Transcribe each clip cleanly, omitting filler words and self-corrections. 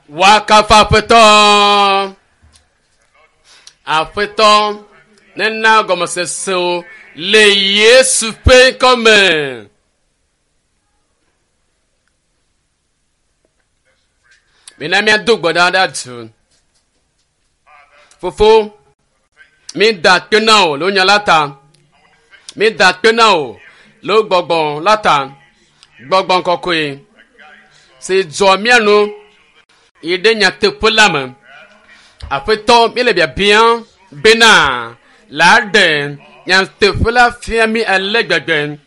Woakafu Aƒetɔ. Aƒetɔ nena gɔmesesewo le Yesu ƒe ŋkɔ me. Mina míado gbe ɖa ɖe du. Fofo, mída akpe na wò le wò nya la ta. Mída akpe na wò le wò gbɔgbɔ la ta. Gbɔgbɔ kɔkɔe si dzɔ mía nu yi ɖe nyateƒe la me. Aƒetɔ, míele biabiam bena la ɖe nyateƒe la fia mí ale gbegbe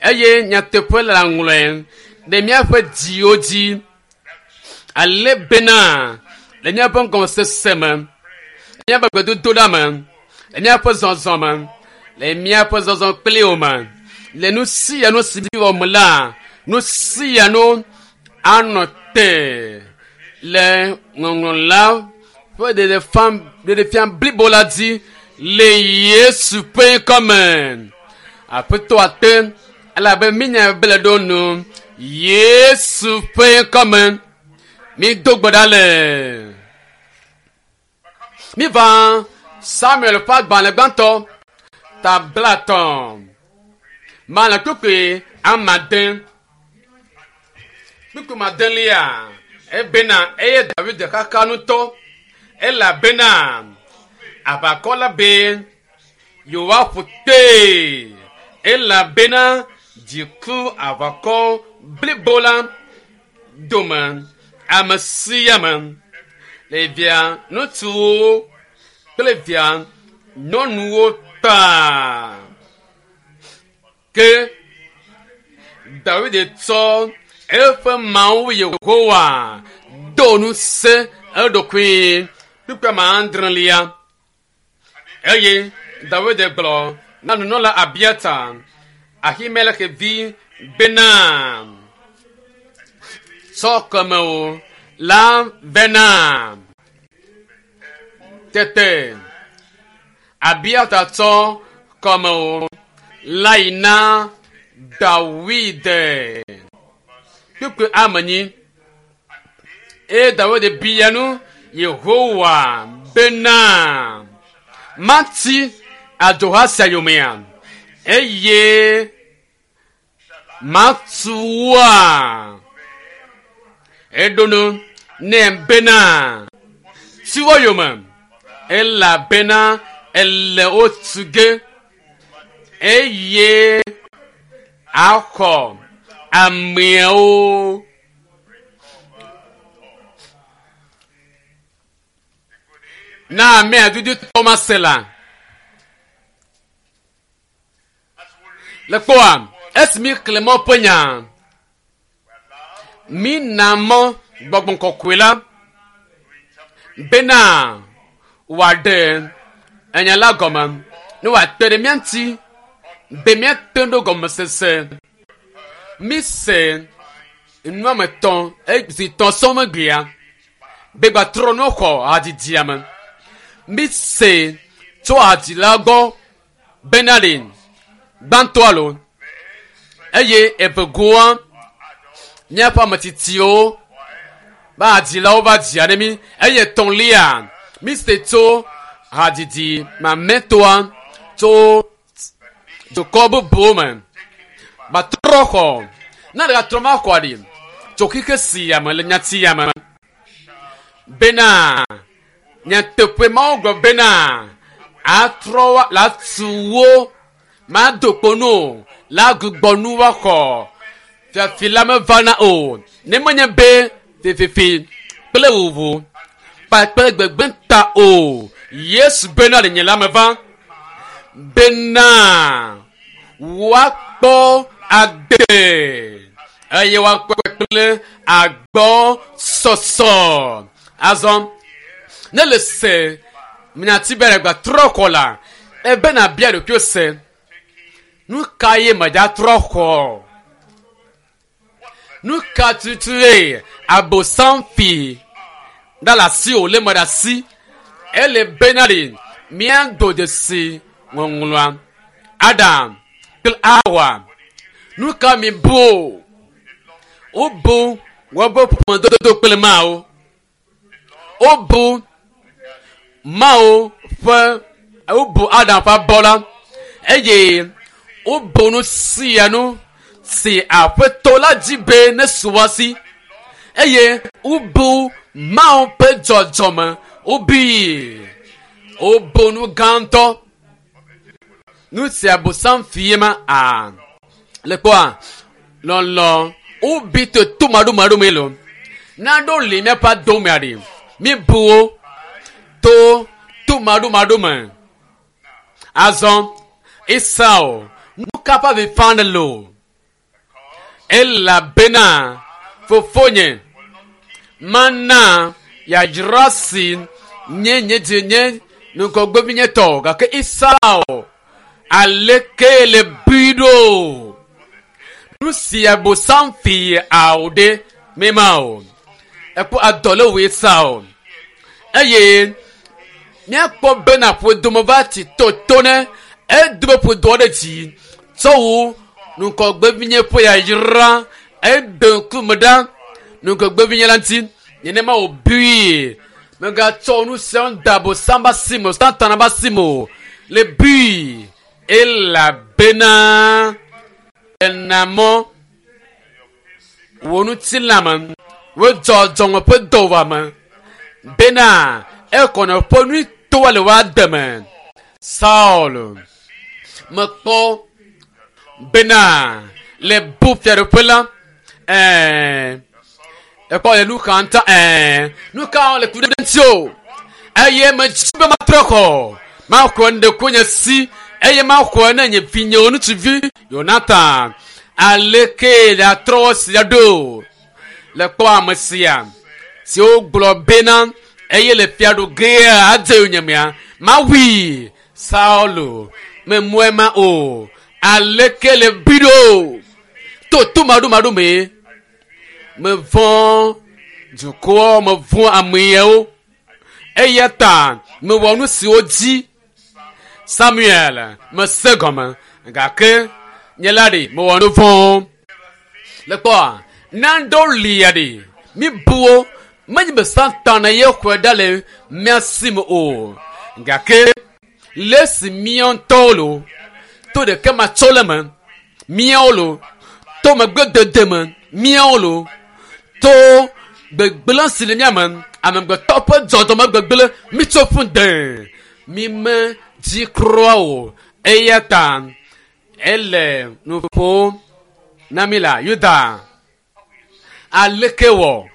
eye nyateƒe la ŋlɔe ɖe míaƒe dziwo dzi ale bena le míaƒe ŋgɔsese me, le míaƒe gbedodoɖa me, le míaƒe zɔzɔ me, le míaƒe zɔzɔ kpli wò me, le nu sia nu si míwɔ me la, nu sia nu anɔ te le ŋɔŋlɔ la ƒe ɖeɖefia blibo la dzi le Yesu ƒe ŋkɔ me. Aƒetɔ ate elabe mínya be le ɖo nu Yesu ƒe ŋkɔ me. Mído gbe ɖa le. Míva Samuel ƒe agbalẽ gbãtɔ ta blatɔ̃ malẽ kpukpui amade kpukpui madelia ebena eye David xaxa ŋutɔ elabena aʋakɔ la be yewoaƒu kpee elabena dziku aʋakɔ blibo la dome ame sia ame le via ŋutsuwo kple via nyɔnuwo ta. Ke David tsɔ eƒe Mawu Yehowa do ŋusẽ eɖokui kpukpui ame adrelia eye David gblɔ na nunɔla Abiata Ahimelek vi bena tsɔ kɔmewo la bena tete Abiata tsɔ kɔmewo la yi na Dawid kpukpui amenyi eye Dawid bia nu Yehowa bena mati adzoha sia yomea eye matu woa eɖo nu nɛ bena ti wo yome elabena ele wo tu ge eye axɔ ameawo. Na amea dudu tɔmase la. Le kpɔa, esi mi xlẽ mɔ ƒe nya, mi na mɔ gbɔgbɔ kɔkɔe la bena wòaɖe enya la gɔme ne wòate ɖe mía ŋuti be míate ɖo gɔmesese. Mi se nu ame tɔ̃ zi tɔ̃ sɔŋ megbea be gbatrɔ nu xɔ hadzidzia me. Mi se tso hadzila gbɔ bena ɖe gbãtɔ alo eye evegoa míaƒe ametsitsiwo be hadzilawo va dzia ɖe mí eye etɔ̃lia mi se tso hadzidzi mamlɛtɔa tso dukɔ bubuwo me batrɔ xɔ na ɖeka trɔ ma xɔ ɖi tso xixe sia me le nyati ya me bena nyateƒe mawo gblɔ bena atrɔ wa la tu wo mado kpo nu o la gbugbɔ nu woaxɔ fiafi la mevana o ne menye be fififi kple wuwu kpakple gbegbe ta o Yesu bena le nye la meva bena woakpɔ agbe eye woakpɔ kple agbɔ sɔsɔ azɔ ne le se nyati be ɖegba trɔ xɔ la ebe na bia ɖokuiwò se nu ka ye medza trɔ xɔ nu ka tutue abosam fi ɖa le asi wò lé me ɖe asi ele bena ɖi míado dzesi ŋɔŋlɔa Adam kple Awa nu ka mi bu o wobu woƒe ƒomedodo kple Mawu. Wobu Mawu ƒe wobu Adam ƒe abɔ la eye wobu nu sia nu si aƒetɔ la dzi be nesu wo si eye wobu Mawu ƒe dzɔdzɔme wobui. Wobu nu gãtɔ. Nu si abosam fie ma a le kpɔa lɔlɔ wobi to tomaɖomaɖo me lo. Naɖo li míaƒe adomea ɖi. Míbu wo to tomaɖomaɖo me. Azɔ Esau nu ka ƒe avi fam ɖe lo? Elabena fofonye mana yadzra si nye nye dzi nye ŋgɔgbevinye tɔ gake Esau aleke le bui ɖo? Nu si abosam fi awo ɖe mema o. Ekpɔ adɔ le wò Esau eye míakpɔ bena ƒodome va tsi toto ne edo be ƒodoa ɖe dzi tsɔ wu ŋgɔgbevinye ƒe yayra eɖe ŋkume ɖa ŋgɔgbevinye la ŋuti nenema wòbui megatsɔ nu sia nu da abosam be asi me o satana be asi me o le bui elabena ena mɔ wò ŋutilã me wò dzɔdzɔme ƒe dɔwɔame bena ekɔnɔ ƒe nutoa le woa deme Saul mekpɔ bena le bu fiaɖuƒe la ɛɛ ekpɔ le nu ka ŋutɔ ɛɛ nu ka le ku ɖe ŋuti o eye medzi be matrɔ xɔ maxɔ ŋɖe nye si eye maxɔ ne nye vinyewo ŋutsuvi Yonatan aleke le atrɔ sia ɖo le kpɔ ame sia si wogblɔ bena eye le fiaɖugea adze yonyemea mawui Saulo memɔe ma o aleke le bi ɖo to tomaɖomaɖo me mevɔ̃ dukɔ mevɔ̃ ameyawo eya ta mewɔ nu siwo dzi Samuel mese gɔme gake nye la ɖe mewɔ nu vɔ̃ le kpɔa naɖewo lia ɖe mi bu menye be Satana ye xɔe ɖa le mía si me o gake le esi mía ŋutɔwo lo to ɖeke matsɔ le me míawo lo to megbedede me míawo lo to gbegblẽ si le mía me amegbetɔ ƒe dzɔdzɔme gbegblẽ mitso ƒu de mi me dzi kura o eya ta ele nu ƒom na mi la Yuda aleke wɔ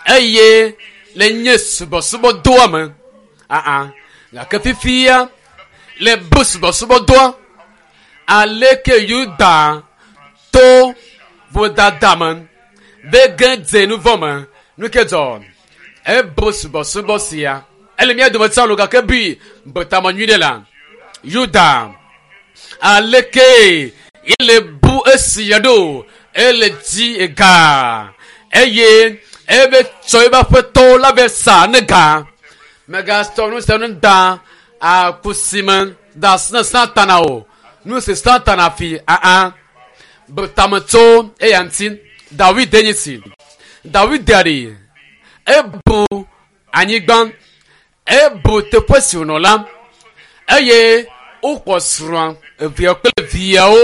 eye le nye subɔsubɔdɔa me aa gake fifia le bu subɔsubɔdɔa aleke Yuda to vodada me be ge dze nu vɔ me nu ke dzɔ ebo subɔsubɔ sia ele mía dome tsã lo gake bui betame nyui ɖe la Yuda aleke ele bu esia ɖo ele dzi ega eye ebe tsɔ ebe aƒetɔwo la be sa ne ga megasɔ nu sia nu da akusi me da asi na satana o nu si satana fi aa betame tso eya ŋuti Dawid enye si Dawid ɖe ebu anyigba ebu teƒe si wònɔ la eye wokɔ srɔ̃a evea kple viawo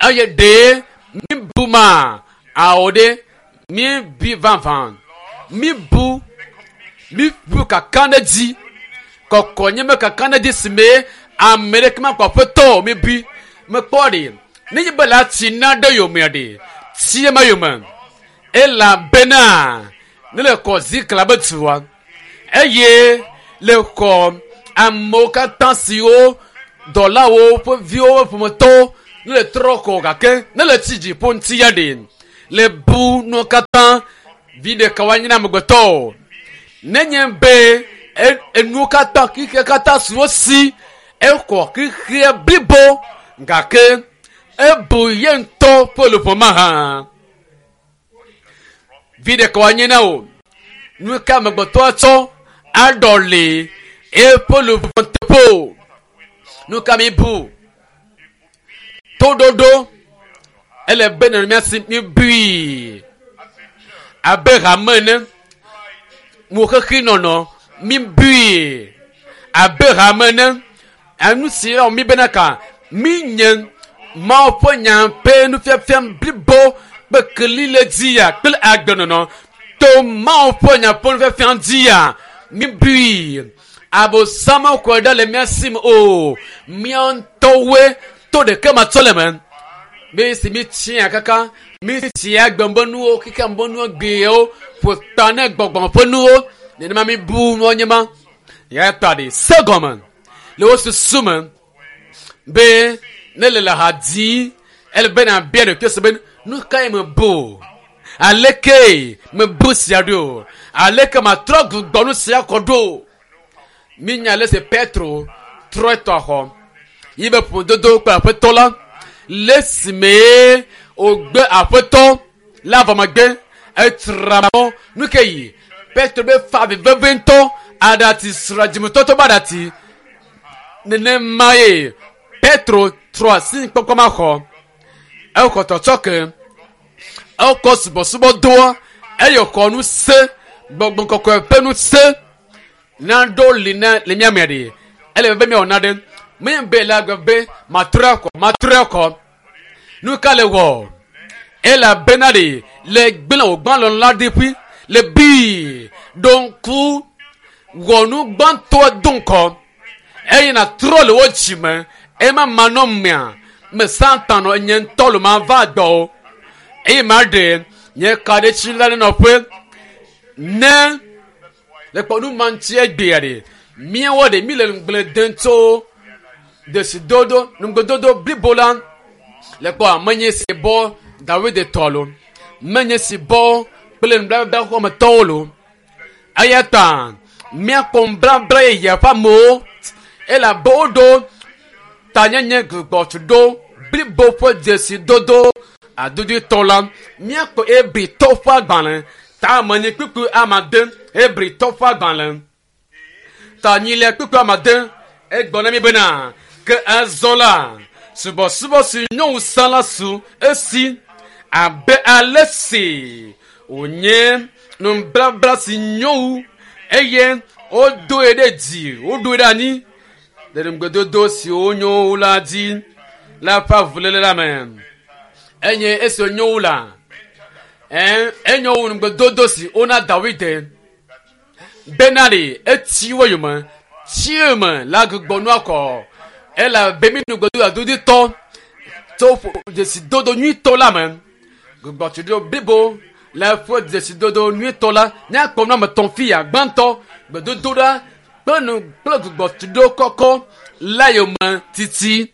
eye ɖe mibu ma awo ɖe mibi vavã mibu mibu kaka ɖe dzi kɔkɔ nye me kaka ɖe dzi si me ame ɖeke makpɔ aƒetɔ mibi mekpɔ ɖe nenye be la tsi na ɖe yomea ɖe tsi ema yome elabena ne le kɔ zikla be dua eye le kɔ amewo katã siwo dɔlawo ƒe viwo ƒe ƒometɔwo ne le trɔ kɔ gake ne le tsi dziƒo ŋuti ya ɖe le bu nuwo katã vi ɖeka woanye na amegbetɔ o nenye be enuwo katã xixia katã siwo si exɔ xixia blibo gake ebu ye ŋutɔ ƒe luʋɔ mahã vi ɖeka woanye na o nu ka amegbetɔ atsɔ aɖɔli eƒe luʋɔ teƒe o nu ka mi bu toɖoɖo ele be nɔ mía si mi bui abe hame ene. Mo xexi nɔnɔ mi bui abe hame ne enu si yɔ mi bena ka mi nye Mawu ƒe nya ƒe nufiafia blibo kple keli le dzia kple agbenɔnɔ to Mawu ƒe nya ƒe nufiafia dzia mi bui abosam xɔe ɖe le mía si me o mía ŋutɔwoe to ɖeke matsɔ le me be si mi tsia kaka mi tsia gbɛmbe nuwo kika mbe nuwo gbewo ƒo ta ne gbɔgbɔ ƒe nuwo nenema mi bu nuwo nye ma ya ta ɖe se gɔme le wo susu me be ne le le ha dzi ele be na bia ɖokui se be nu kae me bu aleke me bu sia ɖo aleke ma trɔ gbugbɔ nu sia kɔ ɖo mi nya le se Petro trɔ etɔ xɔ yi be ƒomedodo kple aƒetɔ la le esime wògbe aƒetɔ la vɔ megbe etra mɔ nu ke yi Petro be fa avi veve ŋutɔ aɖati sra dzimetɔtɔ be aɖati nenema ye Petro trɔ asi kpɔkpɔ ma xɔ exɔ tɔtsɔ ke ekɔ subɔsubɔdoa eye xɔ nu se gbɔgbɔ kɔkɔe ƒe nu se naɖo li na le mía mea ɖe ele be míawɔ naɖe menye be le agbe be matrɔ akɔ matrɔ akɔ nu ka le wɔ elabena ɖe le gblẽ wògbã lɔlɔ la ɖi ƒui le bii ɖo ŋku wɔ nu gbãtɔ do ŋkɔ eye nàtrɔ le wo dzime ema manɔ mea me satan nɔ nye ŋutɔ lo ma va gbɔ o eye ma ɖe nye kaɖetsi la ɖe nɔƒe ne le kpɔ nu ma ŋuti egbea ɖe míawo ɖe mi le ŋugble dem tso desidodo nugbedodo blibo la le kpɔ menye si bɔ Dawid tɔ lo menye si bɔ kple nublabla xɔmetɔwo lo eya ta míakpɔ nublabla yeye ƒe amewo elabe woɖo tanyenye gbugbɔtuɖo blibo ƒe dzesidodo adodoetɔ la míakpɔ Hebritɔ ƒe agbalẽ ta ame kpukpui amade Hebritɔ ƒe agbalẽ ta nyilia kpukpui amade egblɔ na mi bena ke azɔ la subɔsubɔ si nyɔnu sa la su esi abe ale si wònye nublabla si nyɔnu eye wodoe ɖe dzi woɖoe ɖe anyi le ŋugbedodo siwo nyo wu la dzi la ƒe avuléle la me enye esi wonyo wu la enyo wu ŋugbedodo si wona Dawid bena ɖe etsi wo yome tsi me la gbugbɔ nua kɔ elabe mi ŋugbedodo adoditɔ tso dzesidodo nyuitɔ la me gbugbɔtuɖo blibo le eƒe dzesidodo nyuitɔ la míakpɔ nu ame etɔ̃ fia gbãtɔ gbedodoɖa kple nu kple gbugbɔtuɖo kɔkɔ la yome titi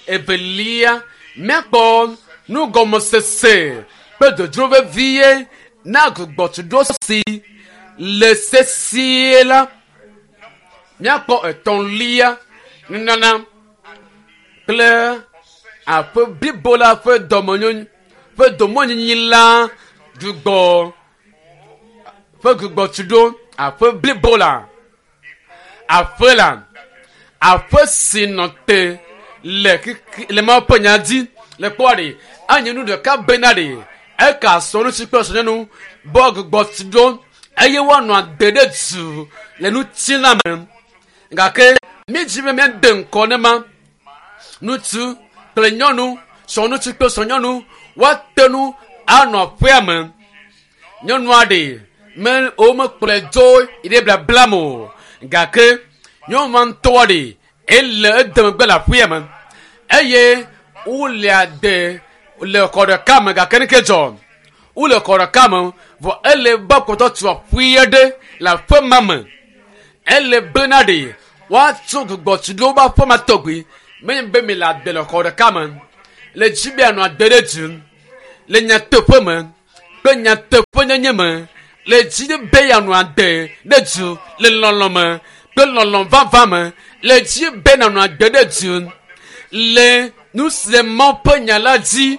evelia míakpɔ nugɔmesese kple dzodzro vevie na gbugbɔtuɖo si le sesie la míakpɔ etɔ̃lia nunana kple aƒe blibo la ƒe dɔmenyonyo ƒe domenyinyi la gbugbɔ ƒe gbugbɔtuɖo aƒe blibo la aƒe la aƒe si nɔ te le kiki le Mawu ƒe nya dzi le kpɔa ɖe anye nu ɖeka bena ɖe eka sɔŋutsu kple sɔnyɔnu bɔ gbugbɔtuɖo eye woanɔ ade ɖe du le ŋutilã me gake mídzi be míade ŋkɔ ne ma ŋutsu kple nyɔnu sɔŋutsu kple sɔnyɔnu woate ŋu anɔ aƒea me nyɔnua ɖe me womekplɔe dzo yi ɖe blabla me o gake nyɔnua ŋutɔa ɖe ele ede megbe le aƒea me eye wole ade le xɔ ɖeka me gake neke dzɔ wole xɔ ɖeka me vɔ ele be kpɔtɔ tu aƒea ɖe le aƒe ma me ele bena ɖe woatso gbugbɔtu ɖe woƒe aƒe ma tɔgbi menye be mi le ade le xɔ ɖeka me le dzi be anɔ ade ɖe du le nyateƒe me kple nyateƒenyenye me le dzi be yeanɔ ade ɖe du le lɔlɔ me kple lɔlɔ vava me le dzi be nanɔ ade ɖe du le nu si le Mawu ƒe nya la dzi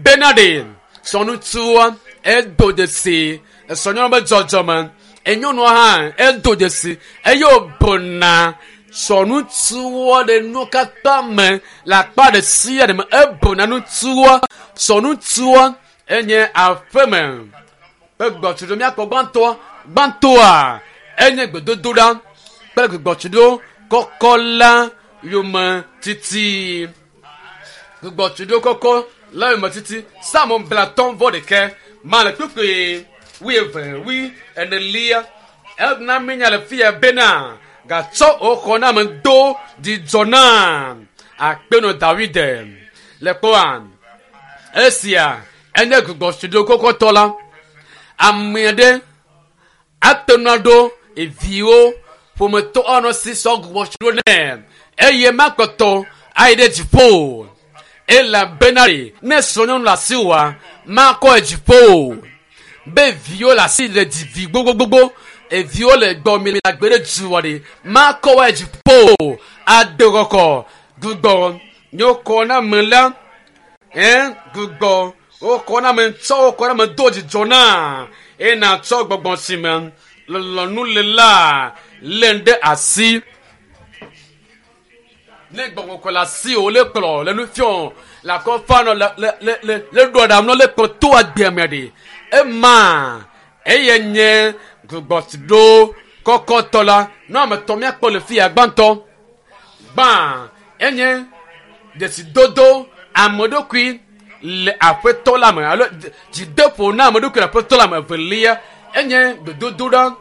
bena ɖe sɔnutsua edo dzesi esɔnyɔnu be dzɔdzɔme enyɔnua hã edo dzesi eye wòbona sɔnutsua ɖe nu katã me le akpa ɖe sia ɖe me ebona nutsua sɔnutsua enye aƒeme ƒe gbɔtuɖo míakpɔ gbãtɔ Gbãtɔa enye gbedodoɖa kple gbugbɔtsiɖo kɔkɔ la yome titi. Gbugbɔtsiɖo kɔkɔ la yome titi. Psalmo 31 ma le kpukpui 24. Ena mi nya le fia bena gatsɔ wò xɔname do dzidzɔ na akpenɔ Dawid le kpɔa. Esia enye gbugbɔtsiɖo kɔkɔtɔ la. Ame aɖe ate ŋu aɖo eviwo ƒometɔ anɔ si sɔ gbugbɔtsiɖo nɛ eye makpɔtɔ ayi ɖe dziƒo elabena ne srɔ̃nyɔnu le asi wòa makɔ dziƒo be viwo le asi le dzi vi gbogbogbogbo eviwo le gbɔ mi le agbe ɖe dua ɖe makɔ wa dziƒo ade kɔkɔ gbugbɔ nyɔkɔ na me la gbugbɔ wokɔ na me tsɔ wokɔ na me do dzidzɔ na eye natsɔ gbɔgbɔ si me lɔlɔ̃nu le la lé ɖe asi. Ne gbɔgbɔ kɔ le asi o le kplɔ le nu fiɔ le akɔfa nɔ le le le le le ɖo aɖaŋu nɔ le kplɔ to agbea me ɖe ema eye nye gbugbɔtsiɖo kɔkɔtɔ la nu ame tɔ míakpɔ le fia gbãtɔ gbã enye dzesidodo ame ɖokui le aƒetɔ la me alo dzideƒo na ame ɖokui le aƒetɔ la me. Evelia enye gbedodoɖa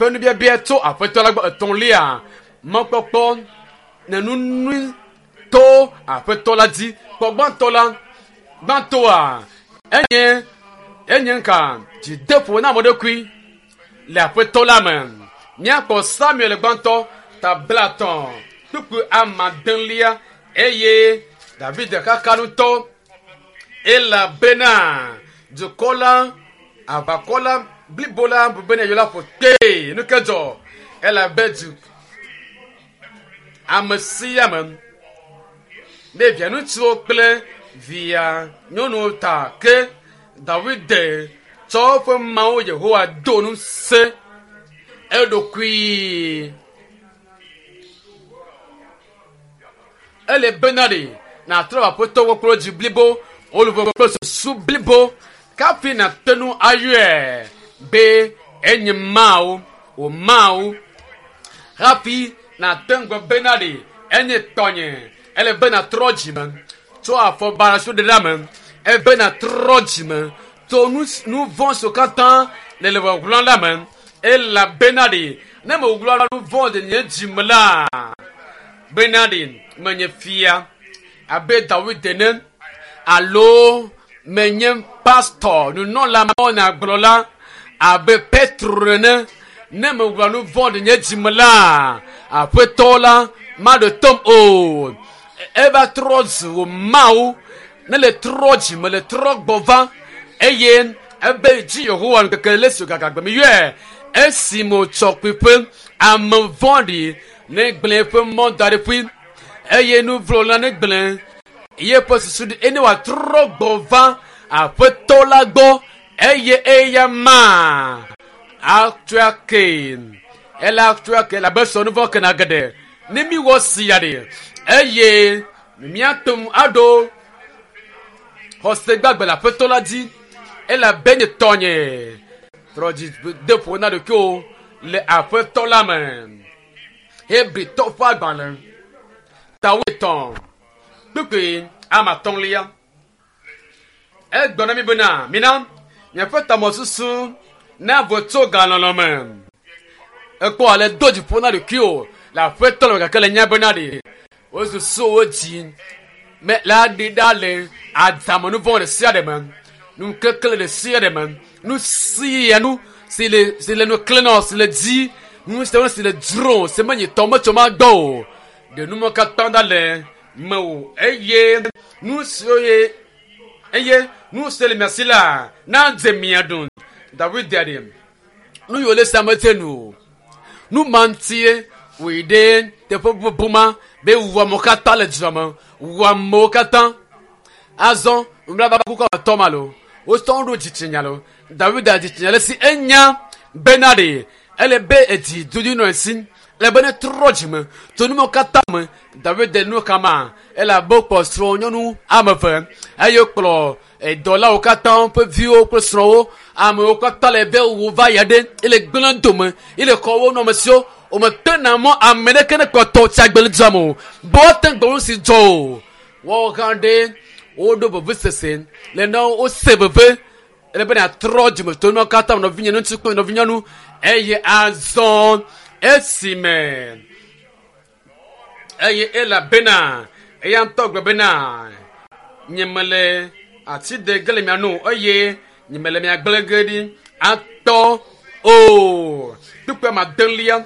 ƒe nubiabia tso aƒetɔ la gbɔ. Etɔ̃lia mɔkpɔkpɔ nenunui to aƒetɔ la dzi. Kpɔ gbãtɔ la gbãtɔa enye enye nka dzideƒo na ame ɖokui le aƒetɔ la me. Míakpɔ Samuel gbãtɔ ta 30 kpukpui 8 eye David kaka ŋutɔ elabena dukɔ la aʋakɔ la blibo la bu bena yewo la ƒo kpee. Nu ke dzɔ elabe du ame sia ame ne via ŋutsuwo kple via nyɔnuwo ta ke Dawid tsɔ eƒe Mawu Yehowa do ŋusẽ eɖokui. Ele bena ɖe nàtrɔ aƒetɔ gbɔ kple dzi blibo, wò kple susu blibo kafi nàte ŋu ayɔe be enye Mawu, wò Mawu. Hafi nàte ŋgɔ bena ɖe enye tɔnye. Ele be nàtrɔ dzime tso afɔ baɖa ɖe ɖa me. Ebe nàtrɔ dzime tso nu vɔ̃ siwo katã le le ʋɔʋlɔ la me. Elabena ɖe ne meɣla nu vɔ̃ ɖe nye dzime la bena ɖe menye fia abe Dawid ene alo menye pastor nunɔla mawunyagblɔla abe Petro ene ne meɣla nu vɔ̃ ɖe nye dzime la aƒetɔ la maɖo tom o. Eva trɔ zu wò Mawu ne le trɔ dzime le trɔ gbɔ va eye ebe dzi Yehowa ŋkeke le si gagagbe mi yɔe esime wòtsɔ kpuiƒe ame vɔ̃ɖi ne gblẽ eƒe mɔ da ɖe ƒui eye nu vlo la ne gblẽ yeƒe susu ɖi eye ne wòatrɔ gbɔ va aƒetɔ la gbɔ eye eya ma atsɔe ake ele atsɔe ake elabe sɔ nu vɔ̃ kena geɖe ne mi wɔ sia ɖe eye míate ŋu aɖo xɔse gbagbe le aƒetɔ la dzi elabe nye tɔnye trɔ dzi de ƒo na ɖokuiwo le aƒetɔ la me. Hebritɔ ƒe agbalẽ ta 8 kpukpui 5 egblɔ na mi bena mina miaƒe tamesusu navo tso galɔlɔ me. Ekpɔ ale do dziƒo na ɖokuiwo le aƒetɔ la me gake le nya bena ɖe wo susuwo dzi me la ɖi ɖa le adzame nu vɔ̃ ɖe sia ɖe me nukekle ɖe sia ɖe me nu sia nu si le si le nu kle si le dzi nu sia nu si le dzro si menye tɔ metso ma gbɔ o ɖe numɔ katã ɖa le mewò eye nu siwo ye eye nu si le mia si la nadze mia ɖum. Dawid ɖe nu yiwo le sia medze nu o nu ma ŋutie wòyi ɖe teƒe bubu ma be wu amewo katã le dua me wu amewo katã. Azɔ nubabla kuku tɔ ma lo wosɔ ɖo dzitsinya lo Dawid dzitsinya le si enya bena ɖe ele be edzi dodo nɔ esi. Le be ne trɔ dzime tso numawo katã me. David de nu kama elabe wokplɔ srɔ̃ nyɔnu ame eve eye wokplɔ dɔlawo katã ƒe viwo kple srɔ̃wo. Amewo katã le be wo va ya ɖe ele gblẽ dome ele xɔ wo nɔamesiwo. Wometena mɔ ame ɖeke ne kpɔtɔ tsi agbe le dua me o. Be woate ŋu gblɔ nu si dzɔ o. Woawo hã ɖe woɖo vevesese le ne wose veve ele be nàtrɔ dzime to nuwo katã me nɔvinye ŋutsu kple nɔvinyɔnu eye azɔ esime eye elabena eya ŋutɔ gblɔ bena nyemele ati de ge le mia nu o eye nyemele mia gblẽ ge ɖi atɔ o. Kpukpui ame adelia,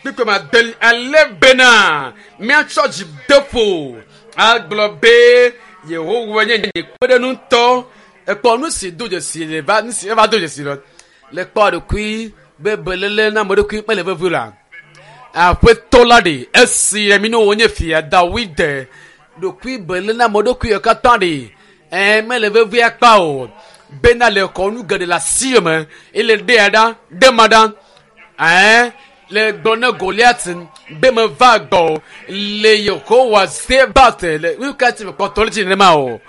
kpukpui ame adelia ale bena míatsɔ dzideƒo agblɔ be Yehowa nye nye kpeɖeŋutɔ. Ekpɔ nu si do dzesi le va nu si eva do dzesi le le kpɔ ɖokui be beléle na ame ɖokui mele vevie la. Aƒetɔ la ɖe esi mi ne wònye fia Dawid ɖokui beléle na ame ɖokui katã ɖe ɛ mele vevie akpa o. Bena le xɔ nu geɖe le asi me ele ɖea ɖa ɖe ma ɖa ɛ le gblɔ ne Goliat be meva gbɔ le Yehowa Zebat le nu ka ti me kpɔtɔ le dzi nenema o.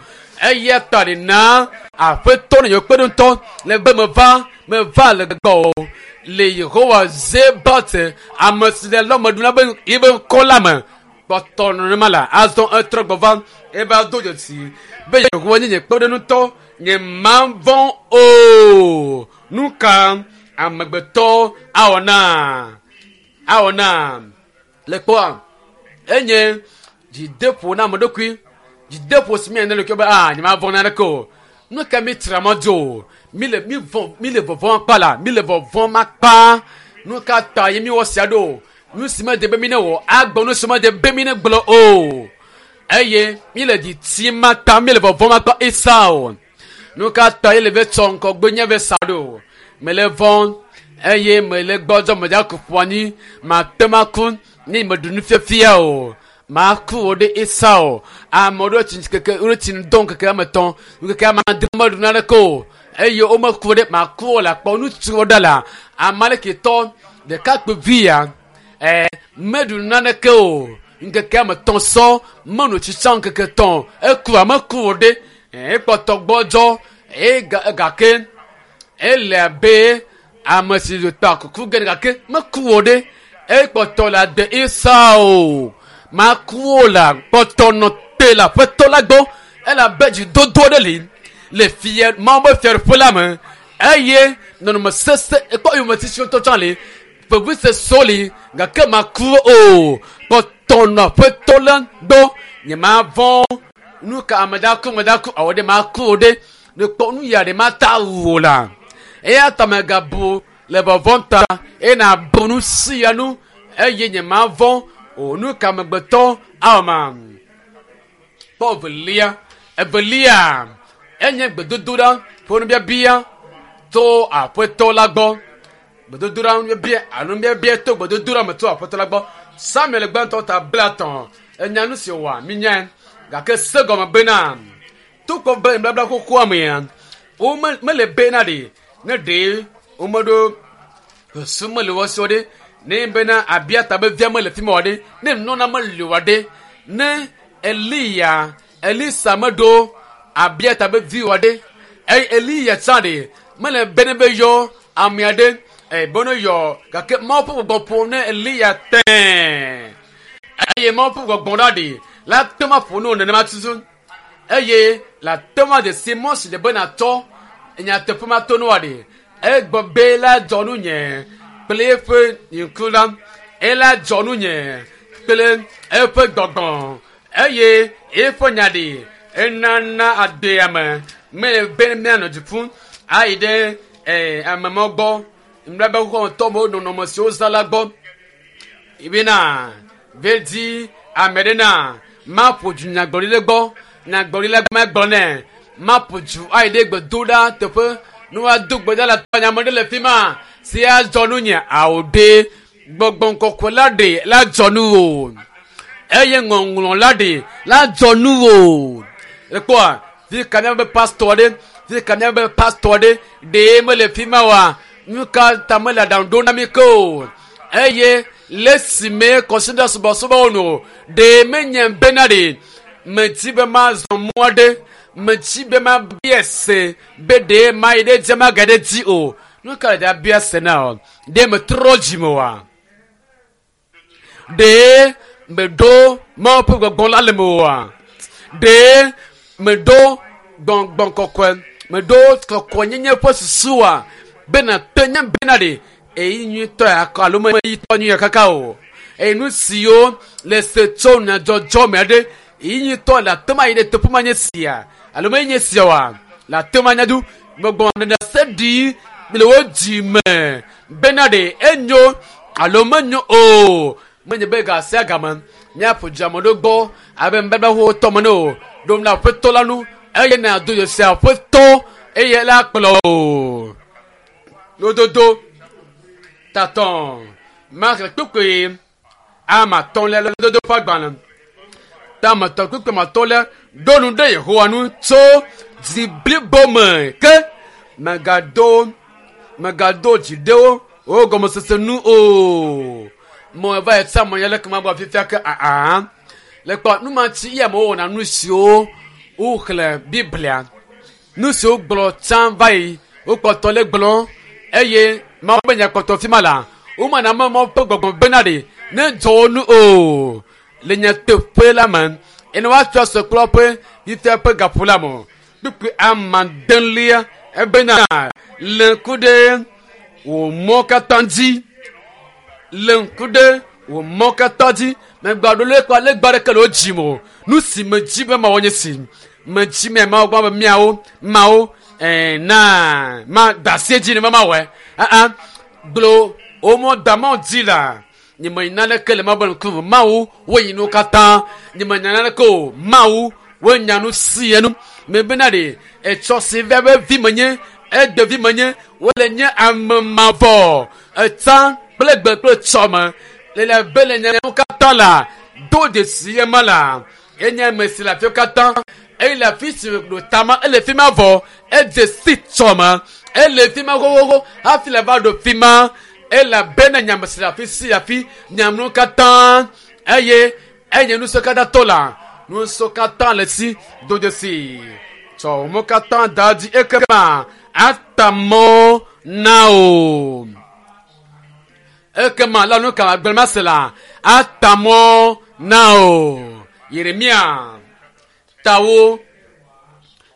Eya ta ɖe na aƒetɔ ne yewo kpe ɖe ŋutɔ le be meva meva le gbɔ le Yehowa Zebat ame si le lɔ me ɖum la be yebe ŋkɔ la me kpɔtɔ nenema la azɔ etrɔ gbɔ va eva do dzesi be Yehowa nye nye kpeɖeŋutɔ nye mavɔ̃ o. Nu ka amegbetɔ awɔ na awɔ na le kpɔa enye dzideƒo na ame ɖokui dzideƒo si mi ne ɖokui be a nye mavɔ̃ naneke o. Nu ka mi tra mɔ dzo o mi le mi vɔ̃ mi le vɔvɔ̃m akpa la mi le vɔvɔ̃m akpa nu ka ta ye mi wɔ sia ɖo nu si mede be mi ne wɔ agbɔ nu si mede be mi ne gblɔ o eye mi le dzi tim akpa mi le vɔvɔ̃m akpa Esau nu ka ta ye le be tsɔ ŋgɔgbe nye be sa ɖo mele vɔ̃ eye mele gbɔdzɔ medza ku ƒu anyi mate ŋu aku ne meɖu nufiafia o maku wo ɖe Esau ame ɖewo tsi keke wo tsi ŋdɔ ŋkeke ame etɔ̃ ŋkeke ame adre meɖu naneke o eye womeku ɖe maku wo le akpɔ ŋutsuwo ɖa la amalekitɔ ɖekakpuivi ya ɛ meɖu naneke o ŋkeke ame etɔ̃ sɔ menu tsitsa ŋkeke etɔ̃ eku ame ku wo ɖe ekpɔtɔ gbɔdzɔ eye gake ele abe ame si ta kuku ge gake meku wo ɖe ekpɔtɔ le ade Esau maku wo la kpɔtɔ nɔ te le aƒetɔ la gbɔ elabe dzidodo ɖe li le fia Mawu be fiaɖuƒe la me eye nɔnɔme sese ekpɔ yometiti ŋutɔ tsã li vevisesewo li gake maku o kpɔtɔ nɔ aƒetɔ la gbɔ nye mavɔ̃ nu ka ame da ku ame da ku awɔ ɖe maku o ɖe ne kpɔ nu ya ɖe mata wu o la eya ta megabu le vɔvɔ̃ ta eye nàbu nu sia nu eye nye mavɔ̃ o nu ka amegbetɔ awɔ ma kpɔ evelia evelia enye gbedodoɖa ƒe nubiabia tso aƒetɔ la gbɔ gbedodoɖa nubiabia alo nubiabia to gbedodoɖa me tso aƒetɔ la gbɔ Samuel gbãtɔ ta 30 enya nu si wòa minyae gake se gɔme bena tokɔ be nubabla xoxoa mea wo mele bena ɖe ne ɖe womeɖo susu mele wo si o ɖe ne bena Abiata be via mele fi ma o ɖe ne nunɔla meli o ɖe ne Eliya Elisa meɖo Abiata be vi o ɖe eye Eliya tsã ɖe mele be ne be yɔ ame aɖe ebe ne yɔ gake Mawu ƒe gbɔgbɔ ƒo ne Eliya tɛ̃ eye Mawu ƒe gbɔgbɔ la ɖe la te ma ƒo ne wo nenema tutu eye la te ma de si mɔ si le be nàtsɔ nyateƒe ma to ne woa ɖe egbɔ be la dzɔ nu nye kple eƒe ŋku la ela dzɔ nu nye kple eƒe gbɔgbɔ eye eƒe nya ɖe enana agbea me mele be míanɔ dziƒo ayi ɖe ame mawo gbɔ nubabla xoxoa me nɔnɔme siwo zã la gbɔ bena vedi ame ɖe na maƒo du nyagblɔɖi ɖe gbɔ nyagblɔɖi la magblɔ nɛ maƒo du ayi ɖe gbedoɖa teƒe ne woado gbe ɖa le tɔnya ame ɖe le fi ma si adzɔ nu nye awo ɖe gbɔgbɔ kɔkɔe la ɖe la dzɔ nu o eye ŋɔŋlɔ la ɖe la dzɔ nu o ekpɔa fi ka míabe pastor ɖe fi ka míabe pastor ɖe ɖe mele fi ma oa nu ka ta mele aɖaŋu ɖom na mi ke o eye Le esime kɔsiɖa subɔsubɔwo nu o, ɖe menye bena ɖe medi be mazɔ mɔ aɖe, medi be mabia se be ɖe mayi ɖe edzi mage ɖe edzi o. Nu ka le abia se na o? Ɖe metrɔ dzime oa? Ɖe meɖo Mawu ƒe gbɔgbɔ la le mewòa? Ɖe meɖo gbɔgbɔ kɔkɔe, meɖo kɔkɔenyenye ƒe susua be nàte nye bena ɖe eyi nyuitɔ ya kɔ alo meyitɔ nyuia kaka o. Eye nu siwo le se tso nyadzɔdzɔ me aɖe eyi nyuitɔ le ate ma yi ɖe teƒe ma nye sia alo menye nye sia oa le ate ma nyadu gbɔgbɔ ɖeɖe ɖi le wo dzi me bena ɖe enyo alo menyo o. Menye be ga sia game míaƒo dzame ɖo gbɔ abe nubabla xoxotɔ me ne o. Ɖo na aƒetɔ la nu eye nàdo dzesi aƒetɔ eye la kplɔ o. Lododo tatɔ maxlẽ kpukpui ame atɔ̃lia le lododo ƒe agbalẽ tame tɔ kpukpui ame atɔ̃lia ɖo nu ɖe Yehowa nu tso dzi blibo me ke mègado mègado dzi ɖe wo wo gɔmesese nu o. Mɔ va yi tsa mɔ ya leke ma gbɔ fifia ke aa le kpɔ nu ma tsi ya amewo wɔna nu siwo woxlẽ Biblia nu siwo gblɔ tsã va yi wokpɔtɔ le gblɔ eye Mawu be nya kpɔtɔ fi ma la womana ame Mawu ƒe gbɔgbɔ bena ɖe ne dzɔ wo nu o le nyateƒe la me ene woatsɔ asɔ kple woƒe fifia ƒe gaƒo la me kpukpui amadelia ebena le ŋku ɖe wò mɔ katã dzi le ŋku ɖe wò mɔ katã dzi megba ɖo legba legba ɖeke le wo dzi me o nu si medzi be mawɔ nye si medzi me mawo gbɔ be miawo mawo ɛɛ na ma da asi edzi ne ma mawɔe aa gblɔ wo mɔ da mɔ dzi la nye me naneke le mawu be ŋkume mawu woyi nuwo katã nye me nya naneke o mawu wonya nu si enu mebena ɖe etsɔ si via be vi menye egbe vi menye wole nye ame mavɔ etsa kple gbe kple tsɔme le le be le nyawo katã la do dzesi ema la enye ame si le afiwo katã eye le afi si ɖo tama ele fi ma vɔ edze si tsɔme ele fi ma xoxoxo hafi le va ɖo fi ma elabena nyame si le afi si afi nyamnu katã eye enye nusẽ katã tɔ la nusẽ katã le si do dzesi tsɔ mo katã da dzi ekema ata mɔ na o ekema la nu ka gblẽ ma se la ata mɔ na o Yeremia tawo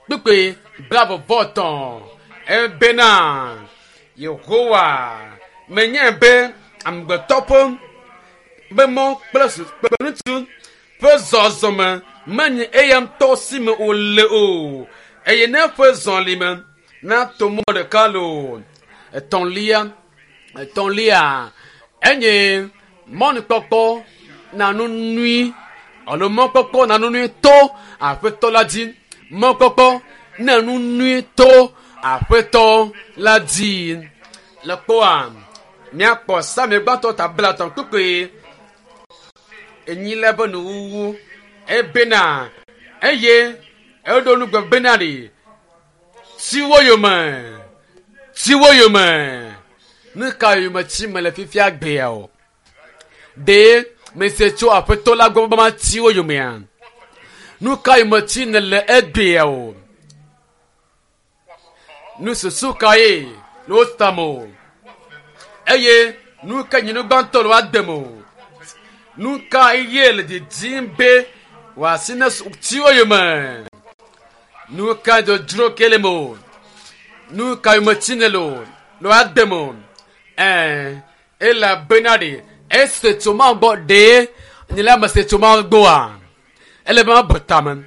kpukpui blaeve-vɔ-etɔ̃ ebena Yehowa menye be amegbetɔ ƒe be mɔ kple kple ŋutsu ƒe zɔzɔme menye eya ŋutɔ si me wòle o eye ne eƒe zɔlime nato mɔ ɖeka le o. Etɔ̃lia etɔ̃lia enye mɔnukpɔkpɔ na nu nyui alo mɔkpɔkpɔ na nu nyui to aƒetɔ la dzi mɔkpɔkpɔ na nu nyui to aƒetɔ la dzi le kpɔa míakpɔ sami gbãtɔ ta blatɔ̃ kpukpui enyi le be nuwuwu ebena eye eɖo nugbe bena ɖe tsiwo yome tsiwo yome nu ka yome tsi me le fifia gbea o ɖe mese tso aƒetɔ la gbɔ be matsi wo yomea nu ka yome tsi nèle egbea o nu susu kae le wo tame o eye nu ka nye nu gbãtɔ le woade me o nu ka ye le didim be wòasi ne tsi wo yome nu ka dzodzro ke le me o nu ka yome tsi nèle o le woade me o ɛɛ elabena ɖe ese tso Mawu gbɔ ɖe nye la mese tso Mawu gbɔa ele be mabu tame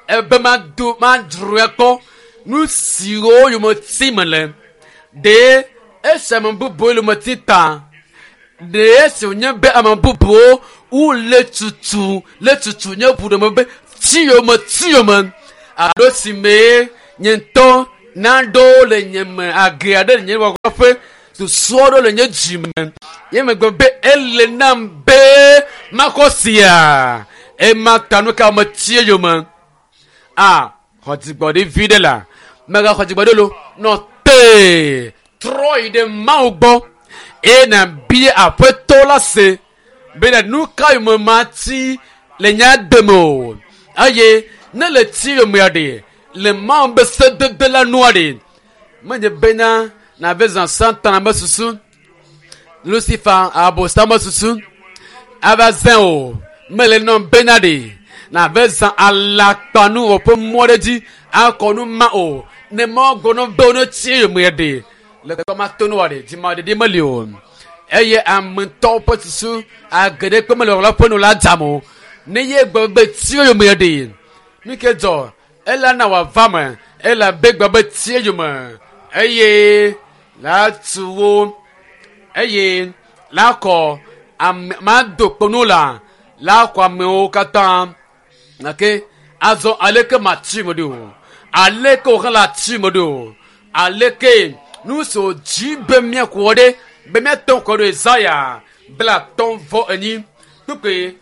ebe mado madzroe kpɔ nu siwo yome ti me le ɖe esi ame bubuwo yome ti ta ɖe esi wònye be ame bubuwo wole tutu le tutu nye ʋu ɖe me be tsi yome tsi yome alo si mee nye ŋutɔ naɖewo le nye me age aɖe le nye wɔƒe susu aɖewo le nye dzi me ye megbe be ele nam be maxɔ sia ema ta nu ka metsi yome a xɔ dzigbɔɖi vi ɖe la megaxɔ dzigbɔɖi lo nɔ te trɔ yi ɖe Mawu gbɔ eye nabia aƒetɔ la se. Bena nu ka yome mati le nye agbe me o. Eye ne le ti yomea ɖe, le Mawu be sedede la nua ɖe, menye bena nàve zã Satana be susu, Lucifer Abosam be susu ava zã o. Mele nɔ bena ɖe nàve zã alakpanuwɔ ƒe mɔ ɖe dzi akɔ nu ma o. Ne Mawu gblɔ na be wone ti yomea ɖe, le kɔmatonu ɖe, dzimaɖeɖi meli o. Eye ame ŋutɔwo ƒe susu age ɖe kpe mele wɔla ƒe nu la dzam o. Ne ye gblɔ be ti yomea ɖe, nu ke dzɔ ela na wòava me, elabe gblɔ be ti yome eye la tu wo eye la kɔ ame mado kponu la la kɔ amewo katã. Gake azɔ aleke mati me ɖo? Aleke wòhã la ti me ɖo? Aleke nu si wòdzi be míaku ɖe be míate ŋu kɔ ɖo Yesaya 34 kpukpui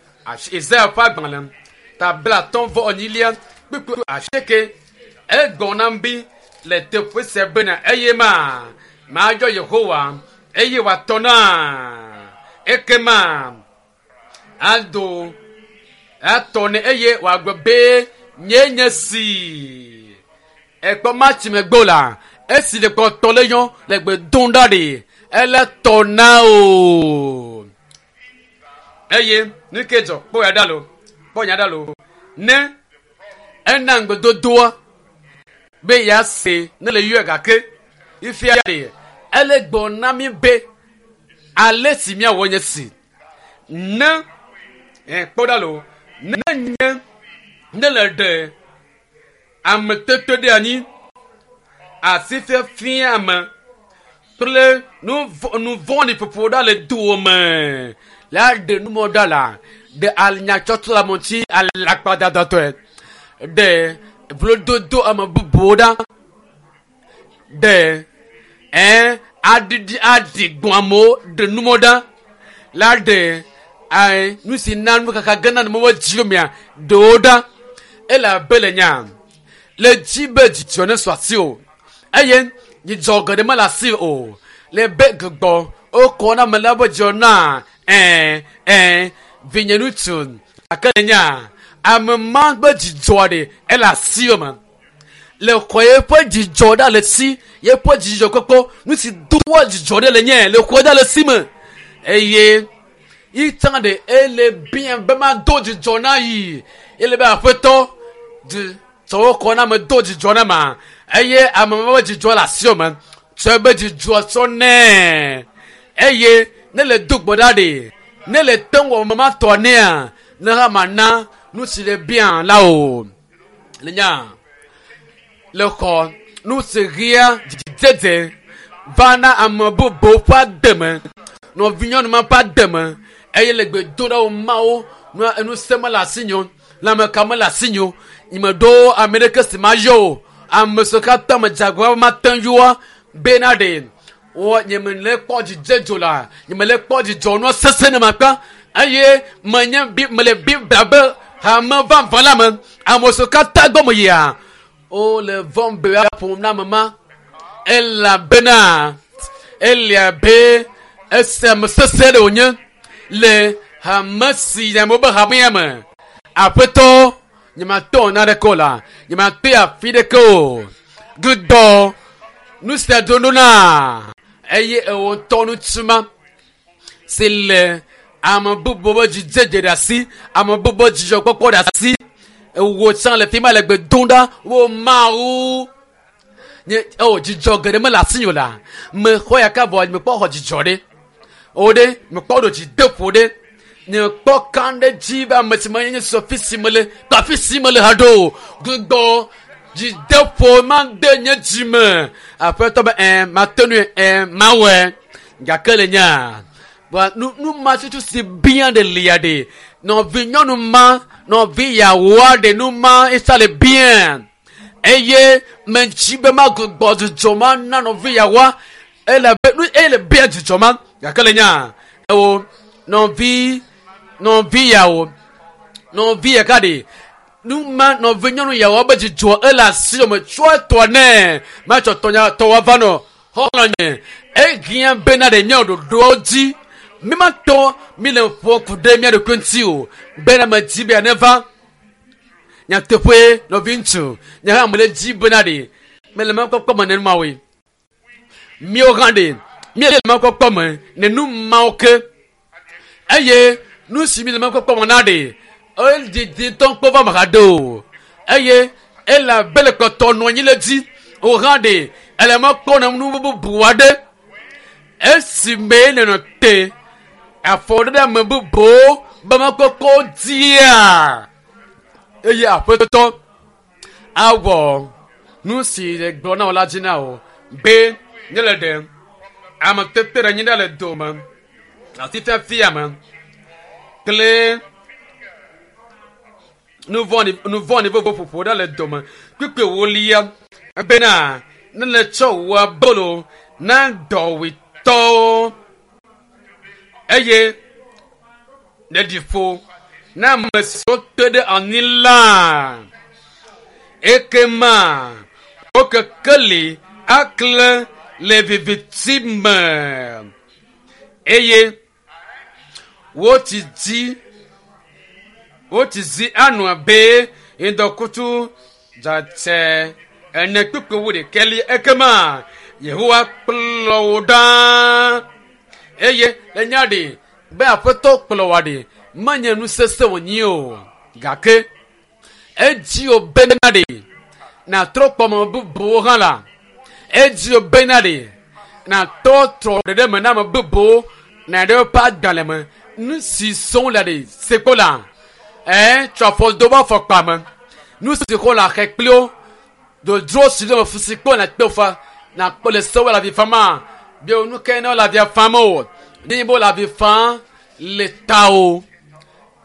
Yesaya ƒe agbalẽ ta 34 kpukpui 8 egblɔ nam be le teƒe sia bena eye ma mayɔ Yehowa eye wòatɔ na ekema ado atɔ ne eye wòagblɔ be nye nye si ekpɔ matsi megbe o la esi le kpɔtɔ le yɔ le gbe dom ɖa ɖe ele tɔ na o eye nu ke dzɔ kpɔ ya ɖa lo kpɔ nya ɖa lo ne ena ŋgbedodoa be ya se ne le yɔe gake ifia ɖe ele gblɔ na mi be ale si miawɔ nye si ne kpɔ ɖa lo ne nye ne le ɖe ame tete ɖe anyi asi fiafia ame kple nu vɔ̃ɖi ƒoƒo ɖa le dowòme la ɖe numɔ ɖa la ɖe anyatsɔtsɔ le ame ŋuti alakpadadatɔe ɖe vlododo ame bubuwo ɖa ɖe aɖiɖi aɖi gbɔn amewo ɖe numɔ ɖa la ɖe nu si na nukaka gena ne mewɔ dzi mea ɖewo ɖa elabe le nya le dzi be dzidzɔ ne su asi o eye dzidzɔ geɖe mele asi o le be gbɔ wokɔ na ame la be dzidzɔ na vinye ŋutsu gake le nya ame ma be dzidzɔ ɖe ele asi me le xɔ yeƒe dzidzɔ ɖa le si yeƒe dzidzɔ kpɔkpɔ nu si doa dzidzɔ ɖe le nye le xɔ ɖa le si me eye itsã ɖe ele bia be mado dzidzɔ na yi ele be aƒetɔ tsɔwo kɔ na me do dzidzɔ na ma eye ame ma be dzidzɔ le asi me tsɔ be dzidzɔ tsɔ nɛ eye ne le do gbɔ ɖa ɖe ne le te wɔ me ma tɔ nɛa ne hã ma na nu si le bia la o le nya le xɔ nu si ɣia dzidzedze va na ame bubuwo ƒe agbe me nɔvinyɔnu ma ƒe agbe me eye le gbe do ɖa wo mawo nu se mele asi nyo lãmeka mele asi nyo nyemeɖo ame ɖeke si ma yɔ o ame siwo katã me dze agbagba mate ŋu yɔa bena ɖe wɔ nyemele kpɔ dzidzedzo la nyemele kpɔ dzidzɔ nua sese ne makpa eye menye bi mele Biblia be hame vavã la me ame siwo katã gbɔ me yia wole vɔm be woaƒom na ame ma elabena elia be ese ame sese ɖe wònye le hame si amewo be hamea me aƒetɔ nyemate wɔ naneke o la nyemate afi ɖeke o gudɔ nu sia do ɖo na eye ewo ŋutɔ ŋutsu ma si le ame bubu be dzidzedze ɖe asi ame bubu be dzidzɔkpɔkpɔ ɖe asi ewo tsã le fi ma le gbe dom ɖa wo Mawu nye ewɔ dzidzɔ geɖe mele asi o la mexɔ ya ka vɔ mekpɔ xɔ dzidzɔ ɖe o ɖe mekpɔ ɖo dzi de ƒo ɖe nye kpɔ kan ɖe dzi be ame si menye nye sɔ fi si mele kple afi si mele hã ɖo o gbugbɔ dzi de ƒo ma de nye dzi me aƒetɔ be mate nui mawɔe gake le nya nu nu ma tutu si bia ɖe lia ɖe nɔvi nyɔnu ma nɔvi yawoa ɖe nu ma esa le bia eye medzi be magbugbɔ dzidzɔ ma na nɔvi yawoa ele be nu eye le bia dzidzɔ ma gake le nya ewo nɔvi nɔvi yawo nɔvi yaka ɖe nu ma nɔvi nyɔnu yawo be dzidzɔ ele asi me tsɔ tɔ nɛ matsɔ tɔnya tɔwa va nɔ xɔlɔ nye ehia bena ɖe nye ɖoɖowo dzi Mi ma tɔ mi le ƒo ku ɖe mía ɖokui ŋuti o bena medzi be neva. Nyateƒe nɔvi ŋutsu, nye hã mele dzi bena ɖe mele mɔkpɔkpɔ me nenemawoe. Míawo hã ɖe míele mɔkpɔkpɔ me nenu mawo ke eye nu si mi le mɔkpɔkpɔ me na ɖe edidi ŋutɔ kpɔ va me haɖe o eye ele abe le kpɔtɔ nɔ anyi le dzi o hã ɖe ele mɔ kpɔ na nu bubu aɖe esime nenɔ te afɔ ɖe ame bubuwo be mɔkpɔkpɔ dzia eye aƒetɔ awɔ nu si le gblɔ na wò la dzi na wò be nye le ɖe ame tete ɖe anyi ɖa le dome asi fiafia me kple nu vɔ̃ɖi vovo ƒoƒo ɖa le dome kpukpui ewolia bena ne le tsɔ wò abolo na dɔwuitɔwo eye ne ɖi ƒo na ame siwo te ɖe anyi la ekema wo kekeli akle le viviti me eye wotsi dzi wotsi zi anɔ abe ŋdɔkutsu dzatse ene kpukpui wu ɖekɛli ekema Yehowa kplɔ wò ɖaa eye le nya ɖi be aƒetɔ kplɔ wò ɖi menye nu sesẽ wònyi o gake edzi wò bena ɖi nàtrɔ kpɔ ame bubuwo hã la edzi wò bena ɖi nàtrɔ trɔ ɖeɖe me na ame bubuwo na ɖe woƒe agbalẽ me nu si sɔm le ɖi sekpo la ɛɛ tsɔ afɔ do be afɔkpa me nu si xɔ le axe kpli wo dodro si le fu si kpɔ na kpe fa na kpɔ le sewɔ le avi fama bi nu ke ne le avia fam o ne bo le avi fam le ta o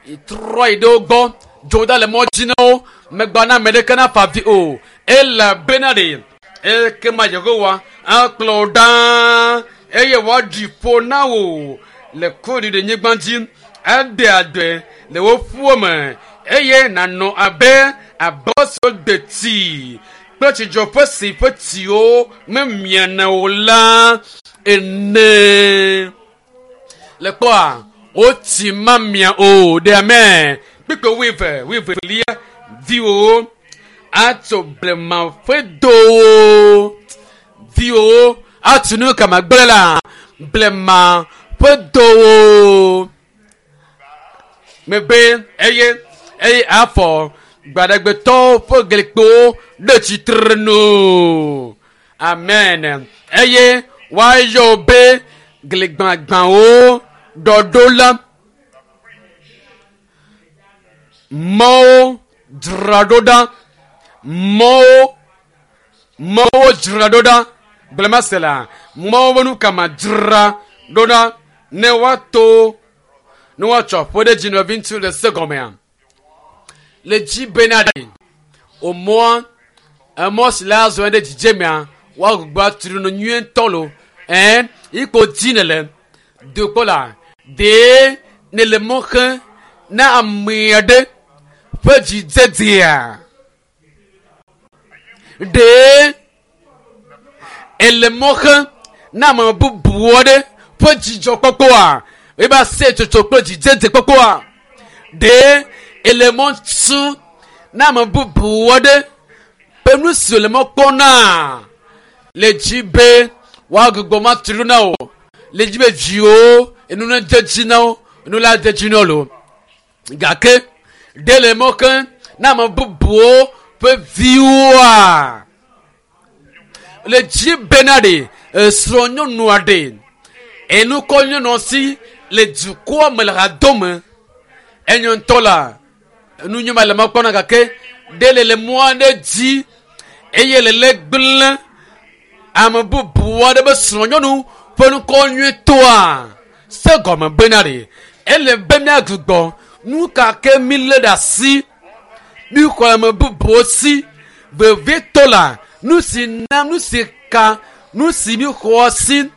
trɔ yi ɖe wo gbɔ dzo da le mɔ dzi na wo megba na ame ɖeke na fa avi o elabena ɖe ekema Yehowa akplɔ wò ɖaa eye wòaɖi ƒo na wò le kuɖiɖi nyigba dzi aɖe adɔe le wò ƒuwo me eye nànɔ abe abɔso deti kple tsidzɔƒe si ƒe tsiwo memiana o la ene. Le kpɔa wotsi mamia o ɖe ame kpikpe wuieve wuievelia viwòwo atso blema ƒe dowo viwòwo atso nu kama gblẽ la blema ƒe dowo megbe eye eye afɔ gbaɖegbetɔwo ƒe glikpowo ɖe tsitre nu amen eye woayɔ be gligbãgbãwo ɖɔɖola mɔwo dzra ɖo ɖa mɔwo mɔwo dzra ɖo ɖa gblẽmasela mɔwo ƒe nu kama dzra ɖo ɖa ne woato ne woatsɔ aƒe ɖe dzi nɔvi ŋutsu le se gɔmea le dzi bena ɖe omɔa emɔ si la zɔ ɖe dzidzemea woagbugbɔ atri no nyuie ŋutɔ lo ɛn ikpo dzi ne le dokpɔ la ɖee ne le mɔ xe na ame aɖe ƒe dzidzedzea ɖee ele mɔ xe na ame bubu aɖe ƒe dzidzɔkpɔkpɔa ebe aseyetsotso kple dzidzedzekpɔkpɔa ɖee ele mɔ tu na ame bubu aɖe ƒe nu si wòle mɔ kpɔm na le dzi be woagbugbɔ ma tu ɖo na wò le dzi be viwo enu ne dze dzi na wo enu la dze dzi na wo lo gake ɖe le mɔ ke na ame bubuwo ƒe viwoa le dzi bena ɖe esrɔ̃nyɔnua ɖe enukɔ nyɔnua si le dukɔa me le hadome enyo ŋutɔ la enu nyɔma le mɔ kpɔna gake ɖe le le mɔ aɖe dzi eye le le gblẽ ame bubu aɖe be srɔ̃nyɔnu ƒe ŋkɔ nyuitɔa se gɔme bena ɖe ele be míagbugbɔ nu ka ke mi lé ɖe asi mi xɔ ame bubuwo si vevietɔ la nu si na nu si ka nu si mi xɔ si.